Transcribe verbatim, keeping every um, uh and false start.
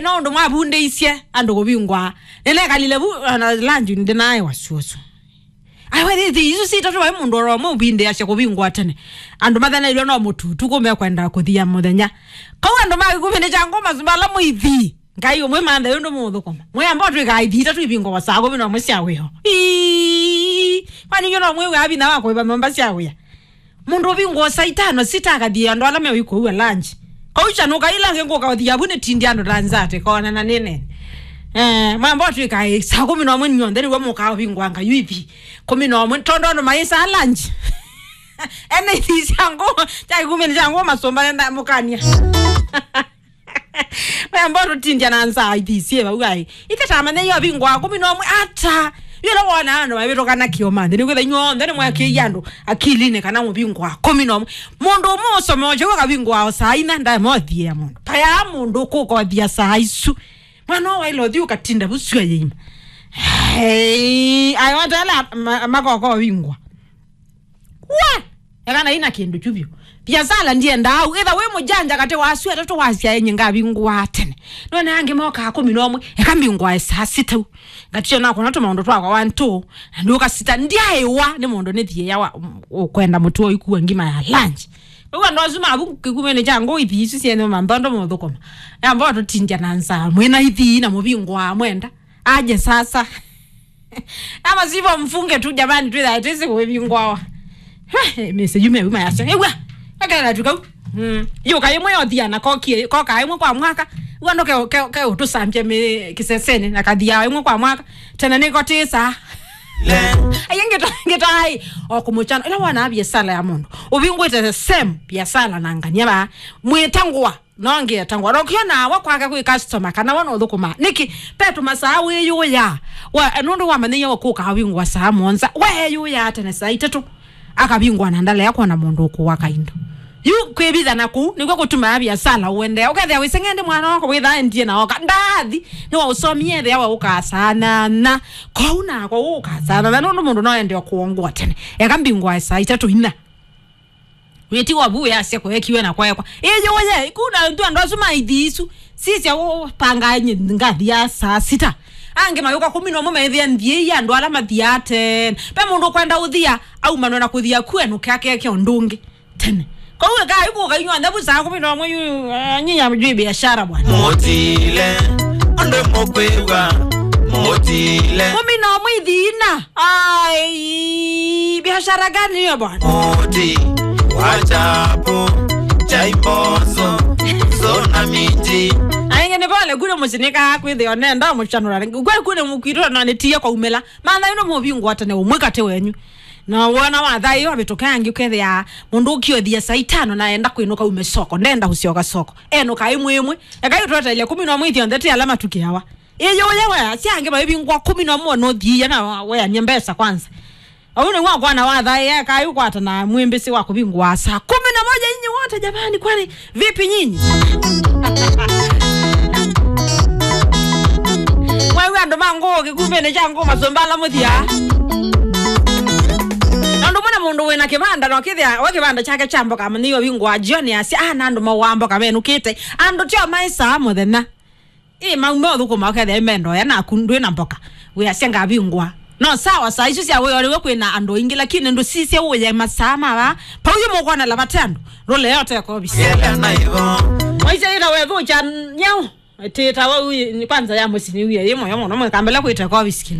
no ũndũ mwavundĩisye andũ kũvingwa. Nĩnekalile vu, ona lunch ndĩnaĩ wasiwasi. Ai, we, thĩ, thĩ, isu sitatũ vai mũndũ oro ũmwe ũvindĩasya kũvingwa tene. Andũ mathenailwe no mũtutu kũme kwenda kũthia mũthenya. Kau andũ ma kĩkumi nĩ kya ngoma ala mũithi. Ngai ũmwe manthe ũndũ mũthũkũma. Mwĩamba twĩkaa ithi itatũ ivingwa saa kũmi na ũmwe sya wĩo. Ii, kwani nyo no mwĩw'a vinya wa kũĩva nyũmba sya wĩa? Mũndũ ũvingwa saa itano sita akathie andũ ala meũikũua lunch. Kaucha nũkaila ngĩ ngũka ũthia vu nĩ tindi andũ ta nzate kona na nene. Eh, mwamba twĩkaa saa kũmi na ũmwe nyonthe nĩw'o mũkaa ũvingwa nga yuithi. Kũmi na ũmwe tondũ andũ maĩsaa lunch. Ene ithi sya ngoma, kya kĩkumi nĩ kya ngoma masũmba nenda mũkania. Wemba tũtindya na nzaa ithi syĩ vau ai. Ithe tamanya yo vingwa kũmi na ũmwe ata. Yũla wona andũ mavĩtũkana kĩoma nthĩ nĩkwĩtha inyuonthe nĩmwakĩie andũ akilinĩ kana mũvingwa kũmi na ũmwe. Mũndũ ũmwe ũsomeo kyau akavingwa o saa ina ndae mothie ya mũndũ. Kaya mũndũ kũkothia saa isu. Mwana wa ilo thiu katinda vusu ya yima. Hey, ayo tala makoko vingwa. Wa! Eka na ina kĩndũ kyu vyũ. Viasala ndienda au. Ĩtha wĩ mũjanja katĩ wa asu atatũ wasya enye ngavingũa tene. Nona angĩ mokaa kũmi na ũmwe. Eka mbingũae saa sita u. Ngatio nakona tũmaũndũ twakwa one two. Na nduka sita ndiaĩwa nĩ mũndũ nĩ thiĩa wa ũkwenda mũtu wa ikua ngima ya lunch. Ũu andũ asu mavu kĩkumĩnĩ kya ngũ ithi isu syenye manthondo mũthũkũma. Yamba tũtindya na nzaa. Mwĩna ithi na mũvingũa mwenda. Aje sasa. Ama sivyo mfunge tu jamani, twĩthae twĩsĩ kũvingwawa. Mese yume yuma yasya. Ewa. Akana tukau. Mm. Yo kaimwe yothia na kokie, koka imwe kwa mwaka. Wando ke ke ke utusambia me kisesene na kathia imwe kwa mwaka. Tena niko tisa. Ayengeta ngeta ai. Okumuchana. Ila wana biasala ya mundu. Ubingwete the same biasala na ngania ba. Mwetangwa. No ngetangwa. Nokiona wa kwake kwi customer kana wa no thukuma. Niki petu masaa wiyuya. Wa nundu wa manyiya wa kuka wingwa saa monza. We yuya tene saa itatu. Akavingwa na ndalea kuona mundu ukuwa kaindo. Yu kwivitha na kuu nĩkw'o kũtumaa viasala ũendee. Ũkethĩa wĩseng'ende mwana wako wĩthaa endie na oka. Ndathi nĩwaũsomie ethĩa we ũkasanana. Kwoou nakwa ũkasanana nũndũ mũndũ no ende o kũongwa tene. Eka mbingwa saa itatũ ina. Wĩtiwa vu wĩasya kũekiwe na kwekwa. Ĩyũye, ikuna ntu andũ asu maithi isu. Sisya ũpangaa ngathi ya saa sita. Angĩ mayũka kũmi na ũmwe maĩthĩa nthie ya andũ ala mathiaa tene. Pe mũndũ ũkwenda ũthia, aumanwe na kũthia kwenu kake ke ũndũ ũngĩ. Tene. Kwoou ĩkai kũka inyuonthe vu saa kũmi na ũmwe yu, ah, nyinya jui biashara bwana. Mũtile, andũ mũkwĩw'a, mũtile. Kũmi na ũmwe ithiina. Ai, biashara gani hiyo bwana? Mũti wa chapo, chai mbozo, sona miti. Ainge nĩ pole kule mũsinika kwĩthĩa nenda mũchanũra. Kwe kule mũkwĩtwa na nĩtie kwa umela. Mana ino mũvingwa tene ũmwe katĩ wenyu. Na wona wa thayũ avĩtũke angĩ ũkethĩa mũndũ ũkĩothia saa itano na enda kwĩnũka ume soko, ndenda ũsyoka soko. Enũka ĩmwe ĩmwe. Ekai ũtweteile kũmi na ũmwe ithyonthe ti ala matukĩawa. Ĩyũye we, sya angĩ maivingwa kũmi na ũmwe nũthiia na weanie mbesa kwanza. Au nĩ wakwana wa thayũ, ekai ũkwata na mwĩmbĩsĩ wa kũvingwa saa kũmi na moja nyinyi wote jamani, kwani vipi nyinyi? Mwaigua andũ ma ngũũ kĩkumbĩnĩ kya ngũũ masũmba ala mũthia. Na ũndũ ũmwe na mũndũ wĩna kĩvanda, no kĩthĩa we kĩvanda kyake kya mboka, amanyĩiwe vingũa jioni asya, ah, na andũ mauaa mboka menũkĩte. Andũ tyo maĩsaa mũthenya. Ĩ, maume ũthũkũma ũkethĩa ĩmendoya naku ndwĩ na mboka. Wĩasya ngavingũa. No sawa, saa isu sya wĩoo nĩw'o kwĩna andũ aingĩ, lakini ndũsisye ũye masaa mava. Pau yu mũkwona lavate andũ. Rũle yote kovisi. Yela na ivo. Waisya ĩla wethũkya nyau. Tĩta wa uye, kwanza ya mũsini uye, yĩ mũyo mũno, mwĩkambĩla kwĩte kovisi.